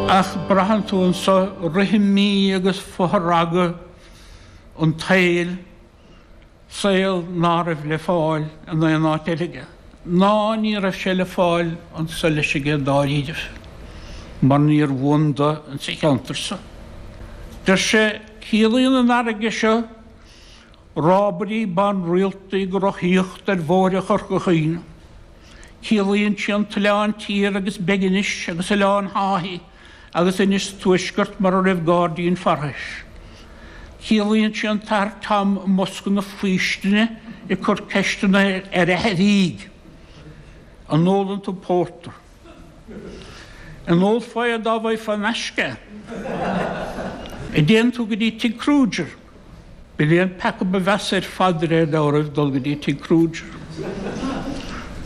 Ach braitheann tú anso rithimí agus fothragadh an tsaoil, saol ná raibh le fáil in aon áit eile aige, ná ní raibh sé le fáil anso leis aige dáiríribh, mar níor bhuan do insa cheantar so. Deir sé, Ciallaíonn an fharraige seo rábairí ban rialta ag rothaíocht ar bhóithre Chorca Dhuibhne. Ciallaíonn sí an tOileán Tiar agus Beiginis agus Oileán Tháithí agus Inis Tuaisceart mar a raibh gairdín Pharthais. Ciallaíonn sí an tAthair Tom i mbosca na faoistine ag cur ceisteanna ar Athair Aoidh, An ólann tú pórtar? An ólfá é dá bhfaighfeá in aisce é? An dtéann tú go dtí tigh Kruger? B'in é an peaca ba mheasa ar fad de réir dealraimh dul go dtí tigh Kruger.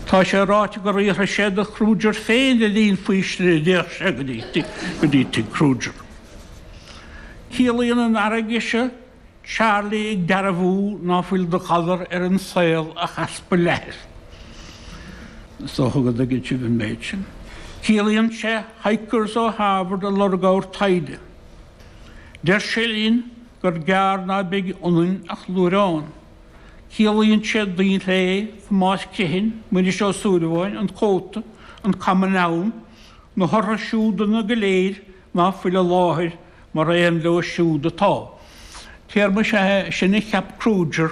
Tá sé ráite gur fhiafraigh sé de Kruger féin le linn faoistine an dtéadh sé go dtí go dtí tigh Kruger. Ciallaíonn an fharraige seo Charlie ag dearbhú ná fuil de ghalar ar an saol ach easpa leathair. Is dócha go dtuigeann sibh an méid sin. Ciallaíonn sé hikers ó Harvard ag lorg ábhar taighde. Deir sé linn gur gearr ná beidh ionainn ach luaithreán. Ciallaíonn sé Daoinlé, Tomás Criomhthain, Muiris Ó Súilleabháin, an cóta, an Common Noun, na horthu siúdanna go léir ná fuil i láthair mar aon leo siúd atá. Téarma is ea é sin a cheap Kruger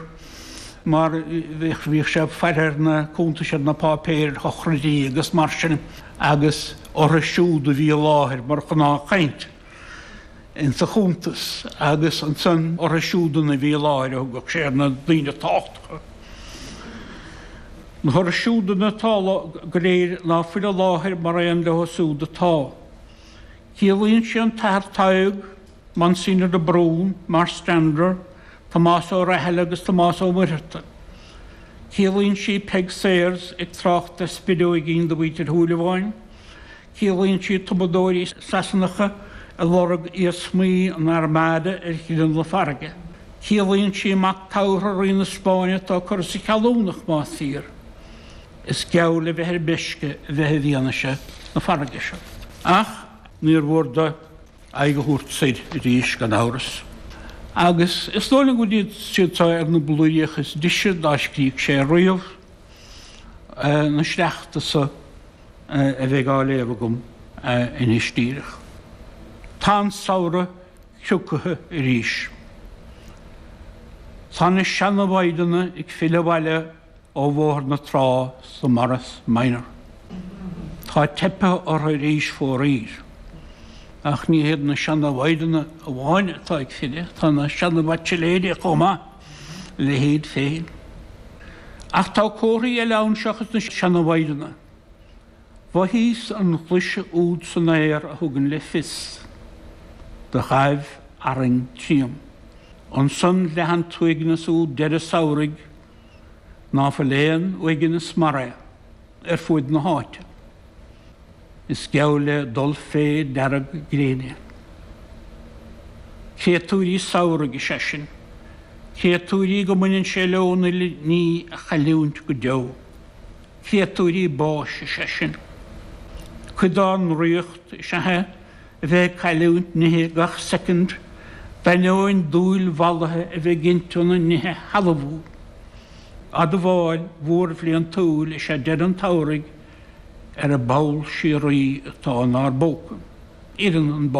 mar bhíodh sé ag faire ar na cuntais ar na páipéir ar shochraidí agus mar sin agus orthu siúd a bhí i láthair mar ghnáthchaint insa chuntas agus ansan orthu siúdanna a bhí i láthair a thugadh sé ar na daoine tábhachtacha. Na horthu siúdanna atá go léir ná fuil i láthair mar aon leo siúd atá. Ciallaíonn sé an tAthair Tadhg, Monsignor de Brún, Marstrander, Tomás Ó Rathile agus Tomás Ó Muircheartaigh. Ciallaíonn sí Peig Sayers ag trácht ar spideoigín do mhuintir Shúilleabháin. Ciallaíonn sí tumadóirí Sasanacha ag lorg iarsmaí an Armada ar ghleann na farraige. Ciallaíonn sí mac tabhartha Rí na Spáinne atá curtha sa cheallúnach, más fíor. Is geall le bheith ar meisce a bheith i bhfianaise na farraige seo. Ach níor mhór do aghaidh a thabhairt soir arís, gan amhras. Agus is dóigh liom go bhfuil siad seo ar na blúiríocha is deise dá scrígh sé riamh, na sleachta so a bheidh á léamh agam anois díreach. Tá an samhradh criocaithe arís. Tá na seana-mhaighdeana ag filleadh abhaile ó Bhóthar na Trá sa Morris Minor. Tá teipthe orthu arís fóraoir. Ach ní hiad na seana-mhaighdeana amháin atá ag filleadh, tá na seana-bhaitsiléirí chomh maith, a leithéid féin. Ach tá comharthaí eile ann seachas na seana-mhaighdeana. Mhothaíos an ghlaise úd san aer a thugann le fios do ghaibh arraing tríom. Ansan leath an t-uaigneas úd deireadh samhraidh ná fuil aon uaigneas mar é ar fuaid na háite. Is geall le dul fé dearg gréine. Créatúirí samhraidh is ea sinn. Créatúirí go mbaineann sé leo an uile ní a chailliúint go deo. Créatúirí báis is ea sinn. Cuid dár ndraíocht is ea é a bheith ag cailliúint nithe gach soicind, d'ainneoin dúil mhallaithe a bheith ginte ionainn nithe a shealbhú. Admháil mhór bhliantúil is ea deireadh an tsamhraidh ar an bpoll síoraí atá inár bpóca. Oireann an bás.